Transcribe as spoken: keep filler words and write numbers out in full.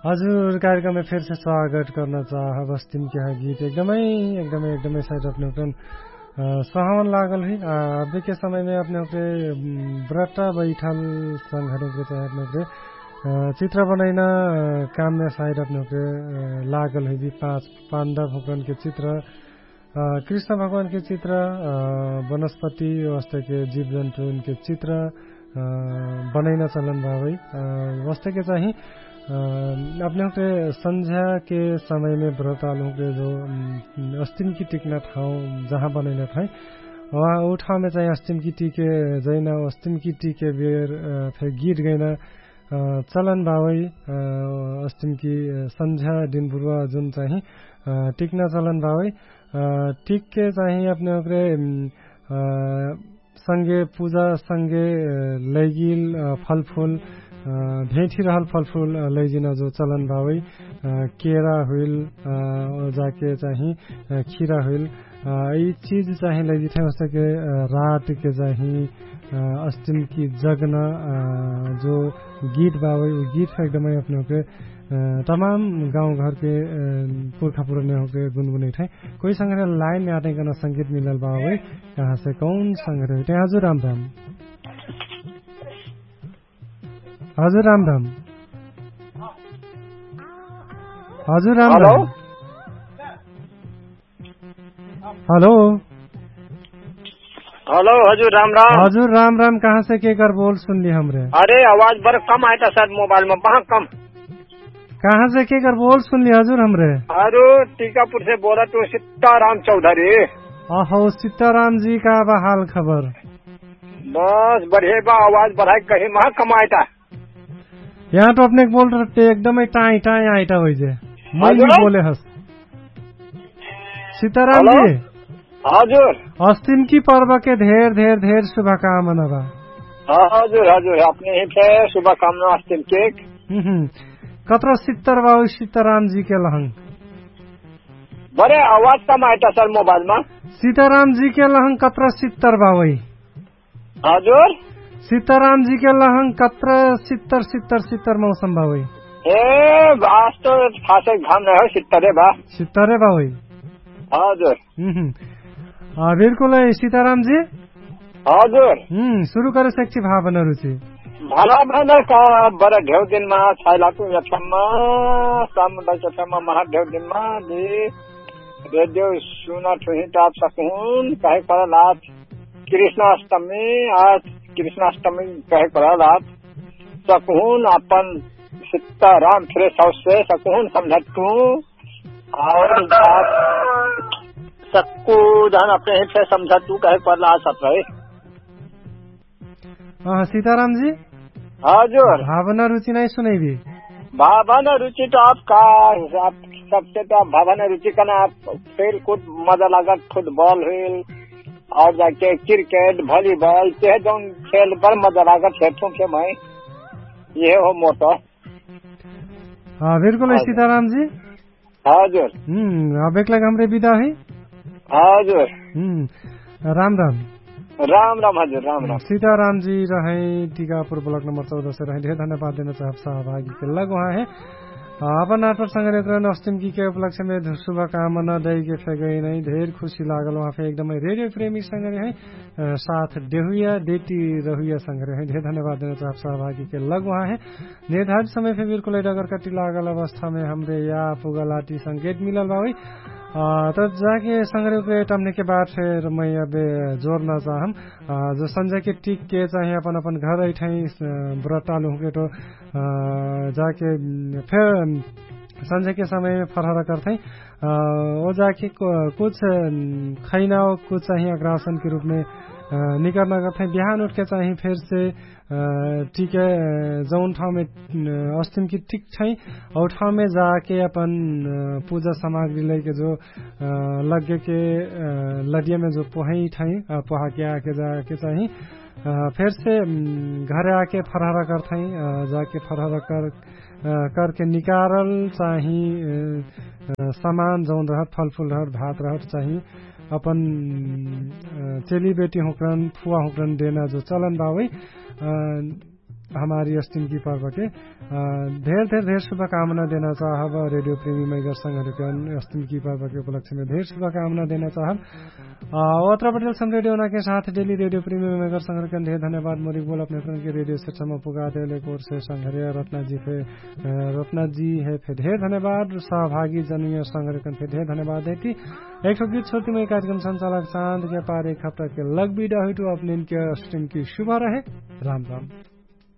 हजुर, कार्यक्रममे फेरसे स्वागत कर्ना चाहब। अस्तिम के ह गीत एकदमै एकदमै एकदमै साइड अपने हुकरन सहवन लागल हुइ। अबेके समयमे अपने हुकरे ब्रटा बैठल संघरे हुकरे चाहे अपने हुकरे चित्र बनैना काममे साइड अपने हुकरे लागल हुइ बि पाँच पाण्डव हुकरनके चित्र, कृष्ण भगवानके चित्र, वनस्पति वस्तके जीवजन्तुनके चित्र बनैना चलन बाबै। वस्तके चाहि अपने हुकरे सन्झ्याके समयमे ब्रतालु हुकरे जो अस्तिमकी टिक्ना ठाउँ जहाँ बनैना ठाउँ, उ ठाउँमे चाहि अस्तिमकी टिके जैना अस्तिमकी टिके बेर फेर गीत गैना चलन बावै। अस्तिमकी सन्झ्या दिनबुरुवा जुन चाहि टिक्ना चलन बावै। टिकके चाहि अपने हुकरे संगे पुजा संगे लैगिल फलफुल भेठी रहल फलफुल लैजिना जो चलन बावै। केरा हुइल जाके चाहि खिरा हुइल यि चिज चाहि लैजिठै। ओस्तके रातके चाहि अस्तिमकी जगना जो गीत बावै उ गीत फे एकदमै अपने हुकरे तमाम गाउँघरके पुर्खा पुरनिया हुकरे गुनगुनैठै। कोइ संघरे लाइनमे आटै कना संगीत मिलल बावै। कहाँसे कौन संघरे हुइठै? हजुर राम राम। हजुर राम राम। हजुर राम राम। हेलो। हेलो। हजुर राम राम। हजुर राम राम। कहाँसे केकर बोल सुनली हमरे? अरे आवाज बरा कम आइटा सायद मोबाइलमे बहा कम। कहाँसे केकर बोल सुनली हजुर हमरे? अरे टिकापुरसे बोलत हौ सित्ताराम चौधरी। अहौ सित्तारामजी का बा हाल खबर? बस बढे बा। आवाज बढाइ कहि महा कमाइटा। यहाँ तो अपने बोल रहते एकदमै टाइ टाइ आइटा होइजे। मै बोले हस। सित्तारामजी। हजुर। अस्तिमकी पर्वके धेर धेर धेर शुभकामना बा। हजुर हजुर अपने हिफे शुभकामना अस्तिमके। कत्रा सित्तर बा होइ सित्तारामजीके लहङ? बरे आवाज कम आइटा सर मोबाइलमा। सित्तारामजीके लहङ कत्रा सित्तर बा होइ? हजुर। सित्तारामजीके लहङ कत्रा सित्तर सित्तर सित्तर मौसम बा होइ? ए आज तो खासै घाम नै हो सित्तरे बा। सित्तरे बा होइ? हजुर। बिल्कुल है सित्तारामजी। हजुर। सुरु करे सेक्ची भावना रुचि। भावना का बरा ढेउ दिनमा छाइला तु यक्षमा सामुदाय यक्षमा महा ढेउ दिनमा दि रेडियो सुना ठुही टाप सकुहुन कहे परल आज कृष्णाष्टमी आज कृष्णाष्टमी कहे परल आज सकुहुन अपन सित्ताराम फ्रेश हाउस से सकुहुन समझत तू। और आप सक्कु जहन अपने हित से समझा तू कहे परला आ सत रहे। सीताराम जी। हजुर। भावना रुचि नै सुनैबी। भावना रुचि त आप का हिसाब सबसे त भावना रुचि कना आप खेलकुद मजा लागत फुटबल हुइल और जाके क्रिकेट भलिबल तेहे जौन खेल बर मजा लागत हेर्थुम के मै। यहे हो मोर त। बिल्कुल है सीताराम जी। हजुर। अब एकलाग हमरे बिदा है। हजुर। राम राम। राम राम हजुर राम राम। सीताराम जी रहै टिकापुर ब्लक नम्बर चौदह से रहै ढेर धन्यवाद देना चाहब सहभागी के लग उहाँ है। अपन नाटक संगे एकरन अस्तिम की के उपलक्ष्य में शुभकामना दै के फेगै नै ढेर खुशी लागल उहाँ फे एकदमै रेडियो प्रेमी संगे रहै साथ देहुया देती रहुया संगे रहै ढेर धन्यवाद देना चाहब सहभागी के लग उहाँ है। निर्धारित समय फे बिल्कुल है अगर कटी लागल अवस्था में हमरे या पुगलाटी संकेत मिलल बावै। त जाके संग्रे उपरे टमने के बाद फेर मै अबे जोरना चाहम जो संझा के टिक के चाहे अपन अपन घर अइठै ब्रतालु हुके तो जाके फेर संझा के समय में फरहरा करथै। ओ जाके कुछ खैना कुछ चाहे अग्रासन के रूप में निकरना करथै बिहान उठ के चाहे फेर से टिके जौन ठाउँमे अस्तिम कि टिक छै औ ठाउँमे जाके अपन पुजा सामग्री लैके जो लग्गेके लडियामे जो पोहै ठै पोहाके आके जाके चाहि फेरसे घरे आके फरहरा करथै। जाके फरहरा कर करके निकारल चाहि समान जौन रहत फलफुल रहत भात रहत चाहि अपन चेली बेटी हुँकरन फुवा हुँकरन देना जो चलन बावै। हमारी अस्टिम की पर्वके धेर धेर धेर शुभकामना देना चाहब। रेडियो प्रेमी मैगर संघरकन अस्टिम की पर्वके उपलक्ष्यमे धेर शुभकामना देना चाहब। ओत्रा पटेल सम रेडियो नाके साथ डेली रेडियो प्रेमी मैगर संघरकन धेर धन्यवाद मोरिक बोल अपने प्रन के रेडियो सेट सम पुगा देले कोर से संघरिया रत्नाजी फे रत्नाजी हे फे धेर धन्यवाद। सहभागी जनुया संघरकन फे धेर धन्यवाद देती। एक सौ गीत छोटी मै कार्यक्रम संचालक चाँद के पार एक हप्ता के लग बिदा हुइटु अपने के अस्टिम की शुभ रहे। राम राम।